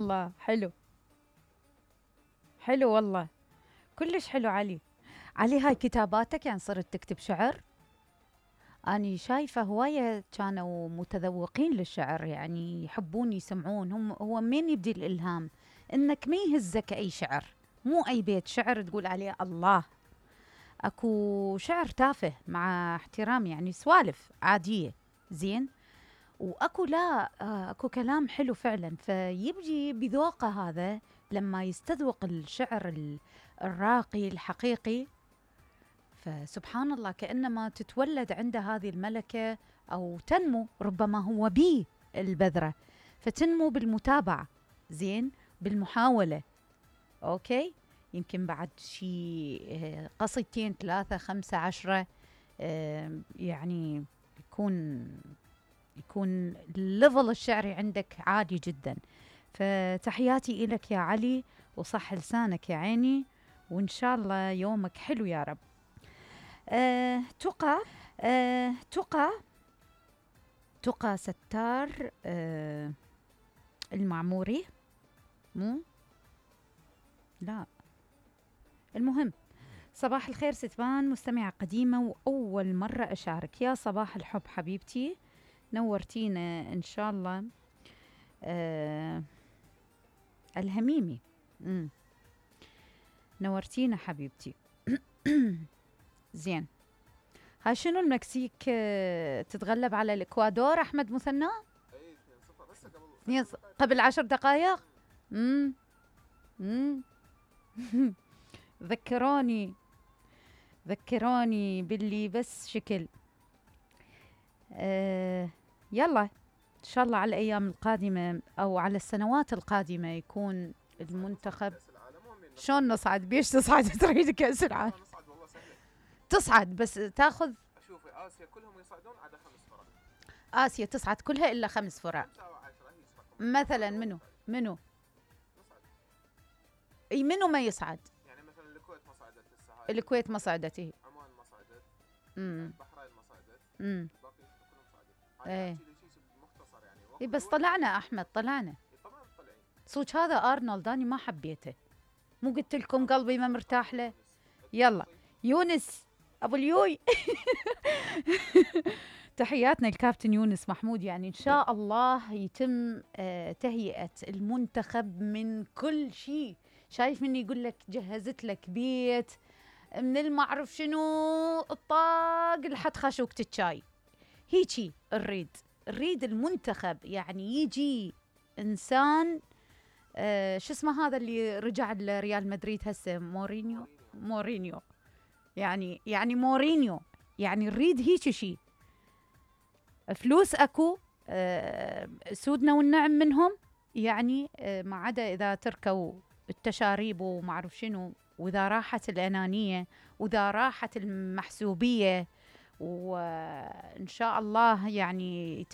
والله حلو. حلو والله، كلش حلو علي. علي هاي كتاباتك يعني صرت تكتب شعر؟ أني شايفة هواية كانوا متذوقين للشعر، يعني يحبون يسمعون. هو من يبدي الإلهام؟ إنك ما يهزك أي شعر، مو أي بيت شعر تقول عليه الله. أكو شعر تافه مع احترامي، يعني سوالف عادية زين، وأكو لا أكو كلام حلو فعلا. فيبجي بذوقه هذا لما يستذوق الشعر الراقي الحقيقي، فسبحان الله كأنما تتولد عنده هذه الملكة، أو تنمو، ربما هو بيه البذرة، فتنمو بالمتابعة زين، بالمحاولة. أوكي، يمكن بعد شي قصيدتين 3 5 10 يعني يكون الليفل الشعري عندك عالي جدا. فتحياتي إلك يا علي، وصح لسانك يا عيني، وإن شاء الله يومك حلو يا رب. تقى ستار المعموري، مو لا المهم. صباح الخير ستبان، مستمعة قديمة وأول مرة أشارك. يا صباح الحب حبيبتي، نورتينا إن شاء الله. الهميمي نورتينا حبيبتي. زين، هاي شنو المكسيك تتغلب على الإكوادور أحمد مثنى؟ قبل 10 دقائق. ذكروني باللي بس شكل. يلا إن شاء الله على الأيام القادمة أو على السنوات القادمة يكون المنتخب. شلون نصعد؟ بيش تصعد؟ تريد كأس العالم؟ تصعد بس تاخذ. شوفي آسيا كلهم يصعدون عدا 5 فرق. آسيا تصعد كلها إلا 5 فرق. مثلا منو؟ اي منو ما يصعد؟ يعني مثلا الكويت ما صعدت لسه، هاي الكويت ما صعدت. هي عمان ما صعدت، البحرين ما صعدت، باقي كلهم صعدوا. ايه مختصر يعني. اي بس طلعنا احمد، طلعنا. طبعا طلعين. صوت هذا ارنولد اني ما حبيته، مو قلت لكم قلبي ما مرتاح له. يلا يونس ابو اليوي. تحياتنا الكابتن يونس محمود. يعني إن شاء الله يتم تهيئة المنتخب من كل شيء. شايف مني يقول لك جهزت لك بيت من المعرف شنو الطاق لحد خشوكة الشاي، هيجي نريد المنتخب. يعني يجي إنسان شو اسمه هذا اللي رجع لريال مدريد هسه؟ مورينيو. يعني مورينيو، يعني نريد هيك شيء. فلوس اكو، سودنا والنعم منهم، يعني ما عدا اذا تركوا التشاريب وما اعرف شنو، واذا راحت الانانيه، واذا راحت المحسوبيه، وان شاء الله يعني